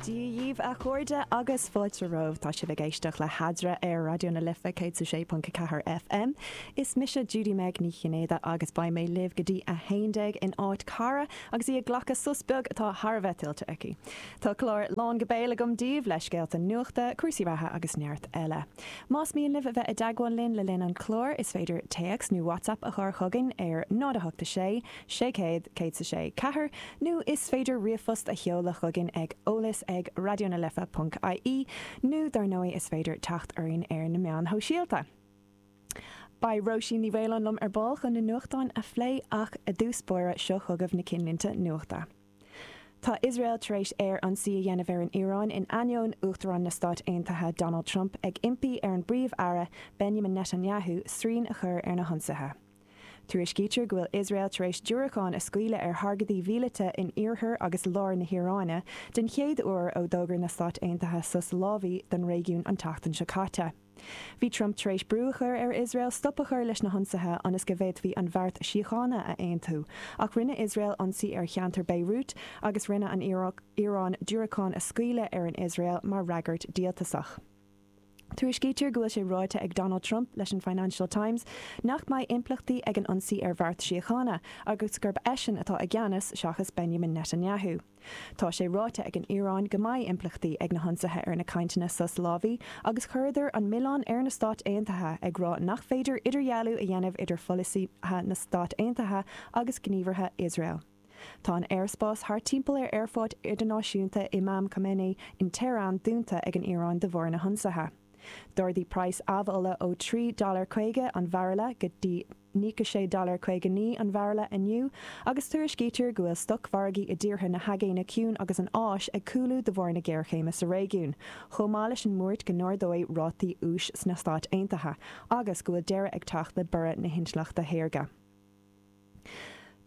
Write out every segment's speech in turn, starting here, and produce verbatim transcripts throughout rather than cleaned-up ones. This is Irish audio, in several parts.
Dia dhaoibh a chairde agus fáilte romhaibh tá sibh ag éisteacht le hEadra ar Raidió na Life céad sé ponc ceathair FM. Is mise Judy Meg Ní Chinnéide agus beidh mé libh go dtí a haon déag in áit Cara agus í ag glacadh sos beag atá thar a bheith tuillte aici. Tá clár lán go béal agam daoibh le scéalta nuachta, cúrsaí reatha agus neart eile. Más mian libh a bheith i dteagmháil linn le linn an chláir is féidir téacs nó WhatsApp a chur chugainn ar náid a hocht sé, sé céad céad sé ceathair, nó is féidir ríomhphost a sheoladh chugainn ag eolas ag radionalife.ie nó dar ndóigh is féidir teacht orainn ar na meáin shóisialta. Beidh Róisín Ní Mhaoláin liom ar ball chun na nuachtáin a phlé ach i dtús báire seo chugaibh na cinnlínte nuachta. Tá Iosrael tar éis aerionsaí a dhéanamh ar an Iaráin in ainneoin Uachtarán na Stát Aontaithe Donald Trump ag impí ar an bPríomh-Aire Benjamin Netanyahu srian a chur ar na hionsaithe. Tuairiscítear go bhfuil Iosrael tar éis diúracáin a scaoileadh ar thargaidí míleata in iarthar agus lár na hIaráine den chéad uair ó d'fhógair na Stáit Aontaithe sos lámhaigh don réigiún an tseachtain seo caite. Bhí Trump tar éis brú a chur ar Iosrael stop a chur leis na hionsaithe ionas go bhféadfaí an beart síochána a aontú, ach rinne Iosrael ionsaí ar cheantar Beirut agus rinne an Iaráin diúracáin a scaoileadh ar an Iosrael mar fhreagairt díoltasach. Tuairiscítear go bhfuil sé ráite ag Donald Trump leis an Financial Times nach mbeidh impleachtaí ag an ionsaí ar bheart síochána agus gurb eisean atá i gceannas seachas Benjamin Netanyahu. Tá sé ráite ag an Iaráin go mbeidh impleachtaí ag na hionsaithe ar na cainteanna sos lámhaigh agus chuireadar an milleán ar na Stáit Aontaithe ag rá nach féidir idirdhealú a dhéanamh idir pholasaithe na Stát Aontaithe agus gníomhartha Iosrael. Tá an aerspás thart timpeall ar aerfort idirnáisiúnta Imam Khomeini in Tehran dúnta ag an Iaráin de bharr na hionsaithe. D'ardaigh praghas amhola ó trí dollar caoga an bhairille go dtí nócha sé dollar caoga naoi an bhairille inniu, agus tuairiscítear go bhfuil stocmhargaí i dtíortha na hAigéine Ciúin agus an Áis ag cúlú de bharr na géarchéime sa réigiún, chomh maith leis an mbuairt go n-ardóidh rátaí úis sna Stáit Aontaithe agus go bhfuil deireadh ag teacht le borradh na hintleachta shaorga.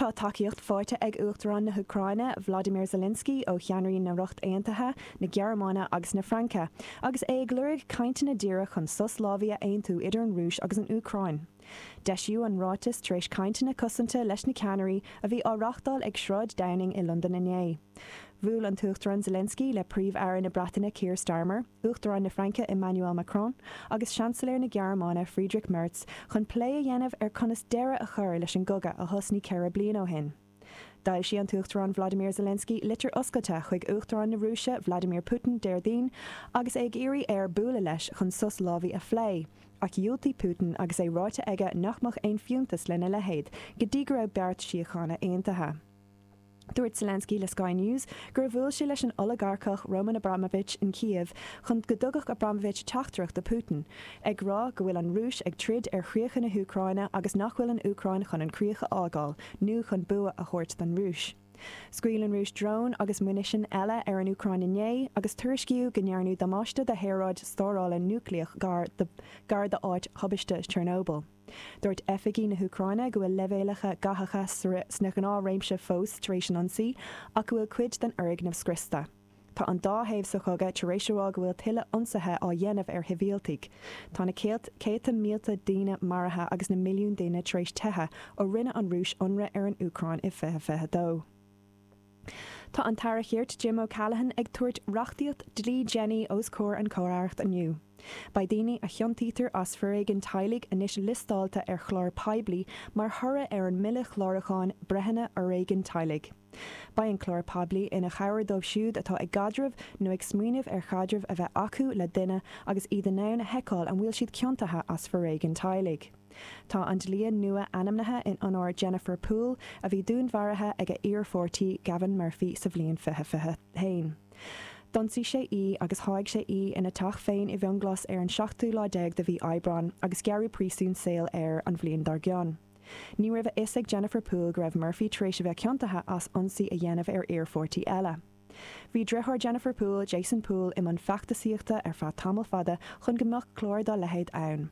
Tá tacaíocht faighte ag Uachtarán na hÚcráine Vladimir Zelensky ó cheannairí na Ríochta Aontaithe, na Gearmáine agus na Fraince, agus é ag lorg cainteanna díreach chun sos lámhaigh a aontú idir an Rúis agus an Úcráin. D'eisíodh an ráiteas tar éis cainteanna cosanta leis na ceannairí a bhí á reáchtáil ag Sráid Downing i Londain inné. Bhuail an tUachtarán Zelensky le Príomh-Aire na Breataine Keir Starmer, Uachtarán na Fraince Emmanuel Macron, agus Seansailéir na Gearmáine Friedrich Merz chun plé a dhéanamh ar conas deireadh a chur leis an gcogadh a thosnaigh ceithre bliana ó shin. D'fhoilsigh an tUachtarán Vladimir Zelensky litir oscailte chuig Uachtarán na Rúise Vladimir Putin Déardaoin agus é ag iarraidh air bualadh leis chun sos lámhaigh a phlé, ach dhiúltaigh Putin agus é ráite aige nach mbeadh aon fiúntas lena leithéid go dtí go raibh beart síochána aontaithe. Dúirt Zelensky le Sky News gur bhuail sé leis an olagarcach Roman Abramovich in Kiev chun go dtugadh Abramovich teachtaireacht do Putin, ag rá go bhfuil an Rúis ag troid ar chríocha na hÚcráine agus nach bhfuil an Úcráin chun an críoch a fhágáil nó chun bua a thabhairt don Rúis. Scaoil an Rúis drón agus munition eile ar an Úcráin inné agus tuairiscíodh go ndearnadh damáiste do shaoráid stórála núicléach gar gar d'áit thubaiste Chernobyl. Dúirt oifigigh na hÚcráine go bhfuil leibhéalacha gathacha sna gnáthréimse fós tar éis an ionsaí ach go bhfuil cuid den fhoirgneamh scriosta. Tá an dá thaobh sa chogadh tar éis a rá go bhfuil tuilleadh ionsaithe á dhéanamh ar shibhialtaigh. Tá na céadta mílte daoine maraithe agus na milliún daoine tar éis teitheadh ó rinne an Rúis ionradh ar an Úcráin i fiche fiche dó. Tá an tAire Cirt Jim O'Callaghan ag tabhairt reachtaíocht dlí Jenny os comhair an Chomh-Aireacht inniu. Beidh daoine a chiontaítear as foréigean teaghlaigh anois liostáilte ar chlár poiblí mar thoradh ar an mBille Clárúcháin Breitheanna Fhoréigin Teaghlaigh. Beidh an clár poiblí ina chabhair dóibh siúd atá ag caidreamh nó ag smaoineamh ar chaidreamh a bheith acu le duine agus iad in ann a sheiceáil an bhfuil siad ciontaithe as foréigean teaghlaigh. Tá an dlí nua ainmnithe in onóir Jennifer Poole a bhí dúnmharaithe ag a iarpháirtí Gavin Murphy sa bhliain fiche fiche haon. D'ionsaigh sé í agus sháigh sé í ina teach féin i bhFionnghlas ar an seachtú lá déag de mhí Aibreáin agus gearradh príosún saoil air an bhliain dár gcionn. Ní raibh a fhios ag Jennifer Poole go raibh Murphy tar éis a bheith ciontaithe as ionsaí a dhéanamh ar iarpháirtí eile. Bhí deartháir Jennifer Poole, Jason Poole, i mbun feachtasaíochta ar feadh tamall fada chun go mbeadh clár dá leithéid ann.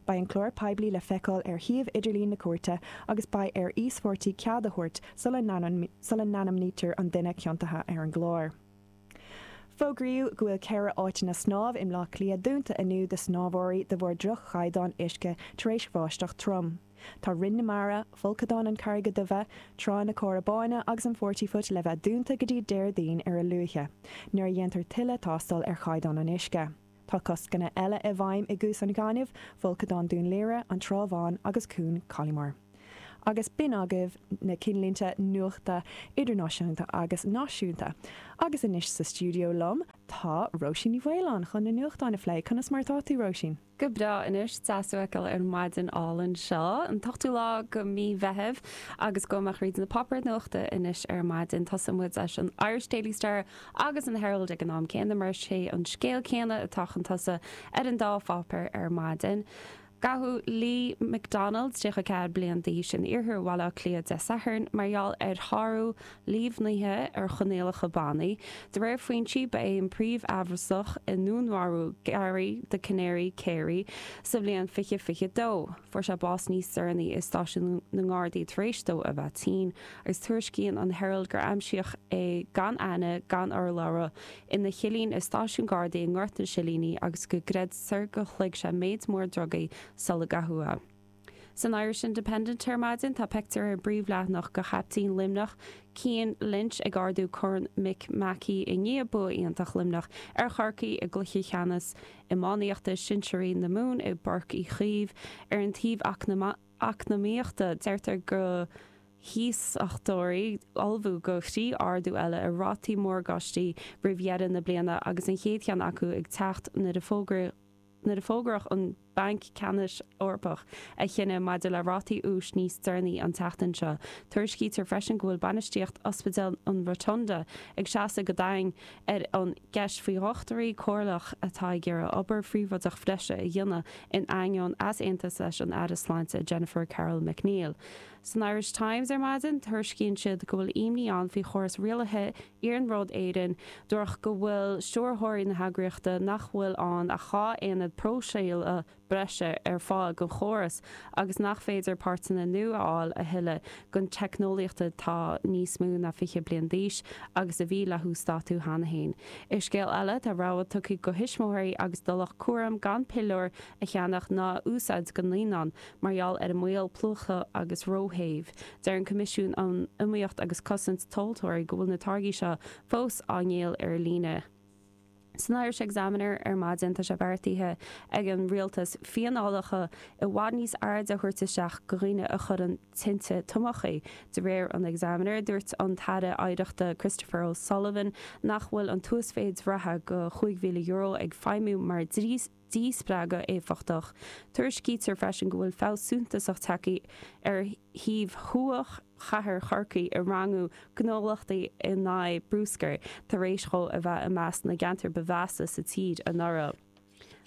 Beidh an clár poiblí le feiceáil ar shuíomh idirlín na cúirte agus beidh ar íospartaigh cead a thabhairt sula n-ainmnítear an duine ciontaithe ar an gclár. Fógraíodh go bhfuil ceithre áiteanna snámh i mBleá Cliath dúnta inniu do shnámhóirí de bharr droch-chaighdeán uisce tar éis bháisteach trom. Tá Rinn na Mara, Folcadán na Carraige Duibhe, Trá na Cora Báine agus an Forty Foot le bheith dúnta go dtí Déardaoin ar a luaithe, nuair a dhéantar tuilleadh tástáil ar chaighdeán an uisce. Tá coscanna eile i bhfeidhm i gCuas an Ghainimh, Folcadán Dún Laoghaire, an Trá Bháin agus Cuan Cholliomore. Agus b'in agaibh na cinnlínte nuachta idirnáisiúnta agus náisiúnta. Agus anois sa stiúideo liom tá Róisín Ní Mhaoláin chun na nuachtáin a phlé conas mar atá tú Róisín. Go breá anois deas tú a fheiceáil ar maidin álainn seo an t-ochtú lá go mí Mheithimh agus go mbeadh ríd na páipéir nuachta anois ar maidin tosóidh muid leis an Irish Daily Star agus an Herald ag an am céanna mar sé an scéal céanna atá chun tosaigh ar an dá pháipéar ar maidin. Gabhadh Lee McDonald tríocha ceathair bliain d'aois in iarthar Bhaile Átha Cliath Dé Sathairn mar gheall ar shárú líomhnaithe ar choinníollacha bannaí. De réir foinsí ba é an príomhamhrasach i ndúnmharú Gary the Canary Carey sa bhliain fiche fiche dó. Fuair sé bás níos deireanaí i stáisiún na nGardaí tar éis dó a bheith tinn, agus tuairiscíonn an Herald gur aimsíodh é gan aithne gan urlabhra ina chillín i stáisiún Gardaí i nGort na Silíní agus go gcreidtear gur shloig sé méid mór drugaí sula gabhadh é. San Irish Independent ar maidin tá pictiúr ar an bpríomhleathanach de chaptaen Luimneach Cian Lynch ag ardú Corn Mick Mackey i ndiaidh bua iontach Luimneach ar Chorcaigh i gcluiche ceannais iománaíochta sinsearaí na Mumhan i bPáirc Uí Chaoimh ar an taobh eacnamaíochta deirtear go hiasachtóirí ullmhú do thrí ardú eile ar rátaí morgáistí roimh dheireadh na bliana agus an chéad cheann acu ag teacht nuair a fógraíodh nuair a fógraíodh an Banc Ceannais Eorpach a chinneadh maidir le rátaí úis níos deireanaí an tseachtain seo. Tuairiscítear freisin go bhfuil bainistíocht Ospidéal an Rotunda ag seasamh go daingean ar an gceist faoi dhochtúirí comhairleach atá ag iarraidh obair phríobháideach bhreise a dhéanamh in ainneoin easaontas leis an Aire Sláinte Jennifer Carroll MacNeill. San Irish Times ar maidin tuairiscíonn siad go bhfuil imní ann faoi chóras rialaithe Iarnród Éireann dúradh go bhfuil stiúrthóirí na heagraíochta nach bhfuil ann ach dhá aonad próiseála breise ar fáil don chóras agus nach féidir páirteanna nua a fháil a thuilleadh don teicneolaíocht atá níos mó ná fiche bliain d'aois agus a bhí le huasdátú cheana féin. I scéal eile tá rabhadh tugtha do thuismitheoirí agus do lucht cúraim gan piliúir a cheannach ná a úsáid do naíonáin mar gheall ar an mbaol plúchta agus róthéimh. Deir an Coimisiún um Iomaíocht agus Cosaint Tomhaltóirí go bhfuil na táirgí seo fós á ndíol ar líne. San Irish Examiner ar maidin tá sé beartaithe ag an rialtas fíneálacha i bhfad níos airde a thabhairt isteach do dhaoine a chuireann tinte tomachaí. De réir an Examiner dúirt an tAire Oidhreachta Christopher O'Sullivan nach bhfuil an t-uasmhéid reatha de chúig mhíle euro ag feidhmiú mar díspreagadh éifeachtach. Tuairiscítear freisin go bhfuil feabhas suntasach tagtha ar shuíomh thuaidh chathair Chorcaí i rangú gnólachtaí in aghaidh bruscair tar éis dó a bheith i measc na gceantar ba mheasa sa tír anuraidh.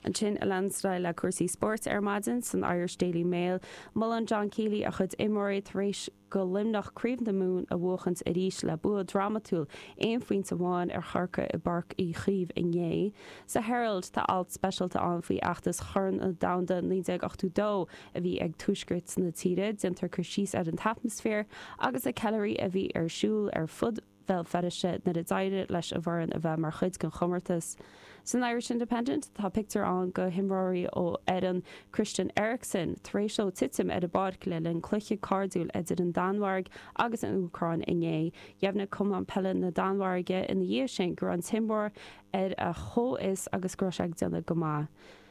Ansin a leanstáil le cúrsaí spóirt ar maidin san Irish Daily Mail, Molann John Kiely a chuid imreoirí tar éis do Luimneach Craobh na Mumhan a bhuachaint arís le bua drámatúil aon phointe amháin ar Chorcaigh i bPáirc Uí Chaoimh inné. Sa Herald tá alt speisialta ann faoi fheachtas Chorn an Domhain naoi déag ochtó dó a bhí ag tuaisceart na tíre, déantar cur síos ar an atmaisféar agus na ceiliúrthaí a bhí ar siúl ar fud Bhéal Feirste nuair a d'éirigh leis an bhfoireann a bheith mar chuid den chomórtas. San Irish Independent tá pictiúr ann de himreoir ó fhoireann Christian Eriksen tar éis dó titim ar an bpáirc le linn cluiche cairdiúil idir an Danmhairg agus an Úcráin inné. Dheimhnigh Cumann Peile na Danmhairge ina dhiaidh sin go raibh an t-imreoir ar a chomhfhios agus go raibh sé ag déanamh go maith.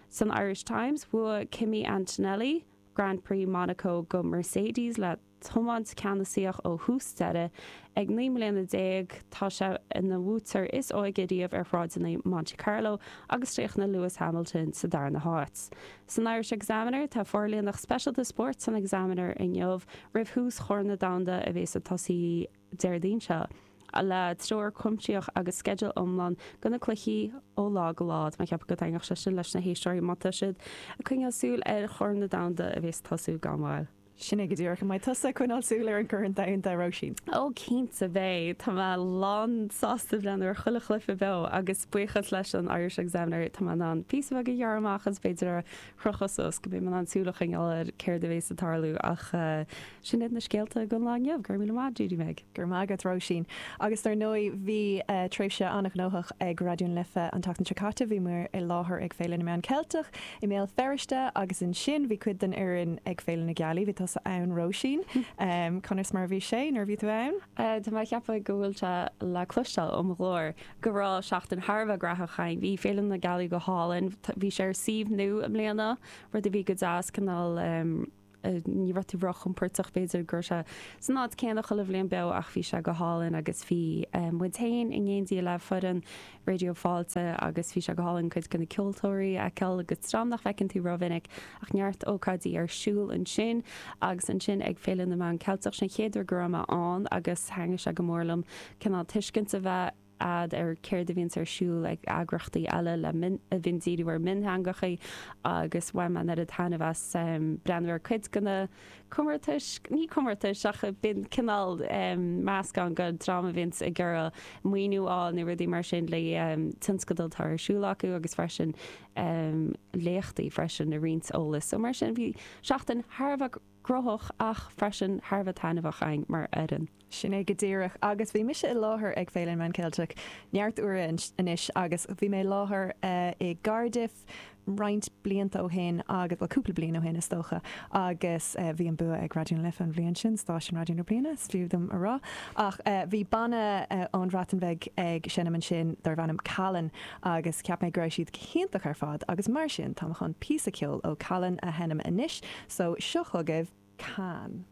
San Irish Times bhuaigh Kimi Antonelli Grand Prix Monaco do Mercedes le tiomáint ceannasaíoch ó thús deireadh ag naoi mbliana déag tá sé ina bhuaiteoir is óige riamh ar shráideanna Monte Carlo agus chríochnaigh Lewis Hamilton sa darna háit. San Irish Examiner tá forlíonadh speisialta spóirt san Examiner inniu roimh thús Chorn an Domhain a bheas ag tosú Déardaoin seo. le treoir chuimsitheach agus sceideal iomlán do na cluichí ó lá go lá Má cheap go dtaitneodh sé sin leis na héisteoirí má tá siad ag coinneáil súil ar Chorn an Domhain a bheas ag tosú gan mhoill. Sin é go díreach mbeidh tusa ag coinneáil súil ar an gCorn Domhanda Róisín. Ó cinnte beidh Tá mé lánsásta breathnú ar chuile chluiche beo agus buíochas leis an Irish Examiner tá mé in ann píosa beag a ghearradh amach agus b'fhéidir a chrochadh suas go mbeidh mé in ann súil a choinneáil ar céard a bheas ag tarlú ach uh, sin iad na scéalta don lá inniu gur míle maith Judy Meg. Gur mágad Róisín. Agus dar ndóigh bhí uh, tréimhse an-ghnóthach ag Raidió na Life an tseachtain seo caite bhí muid i láthair ag Féile na Meán Ceilteach i mBéal Feirste agus ansin bhí cuid den fhoireann ag Féile na Gealaí bhí tusa ann Róisín um, conas mar bhí sé nuair bhí tú ann? Uh, Tá mé ceapadh go bhfuil sé le cloisteáil ó mo ghlór go raibh seachtain thar a bheith gnóthach againn. Bhí Féile na Gealaí go hálainn, bhí sé ar suíomh nua i mbliana, rud a bhí go deas cineál um, ní raibh tú róchompordach b'fhéidir gur sé san áit céanna chuile bhliain beo ach bhí sé go hálainn agus bhí um, muid féin in éindí le foireann Raidió Fáilte agus bhí sé go hálainn cuid de na ceoltóirí a fheiceáil agus dream nach bhfeiceann tú rómhinic ach neart ócáidí ar siúl ansin agus ansin ag Féile na Meán Ceilteach sin chéad uair go raibh mé ann agus thaitnigh sé go mór liom cineál tuiscint a bheith agat ar céard a bhíonn ar siúl ag eagraíochtaí eile le a bhíonn díriú ar mionteangacha agus bhain mé an taitneamh as um, breathnú ar cuid de na comórtais ní comórtais ach bíonn cineál um, meascán den dream a bhíonn ag iarraidh maoiniú á nó rudaí mar sin le um, tionscadal atá ar siúl acu agus freisin um, léachtaí freisin a roinnt eolas. So mar sin bhí seachtain thar a bheith gnóthach ach freisin thar a bheith taitneamhach againn mar fhoireann. Sin é go díreach agus bhí mise i láthair ag Féile na Meán Ceilteach neart uair anois agus bhí mé láthair uh, i Cardiff roinnt blianta ó shin agus well, cúpla bliain ó shin is dócha agus uh, bhí an bua ag Raidió na Life an bhliain sin stáisiún raidió na bliana fiú dom a rá ach uh, bhí banna uh, ón Bhreatain Bheag ag seinm ansin darbh ainm Calan agus ceap mé go raibh siad iontach ar fad agus mar sin tá chun píosa ceoil ó Calan a sheinm anois so seo chugaibh Cán.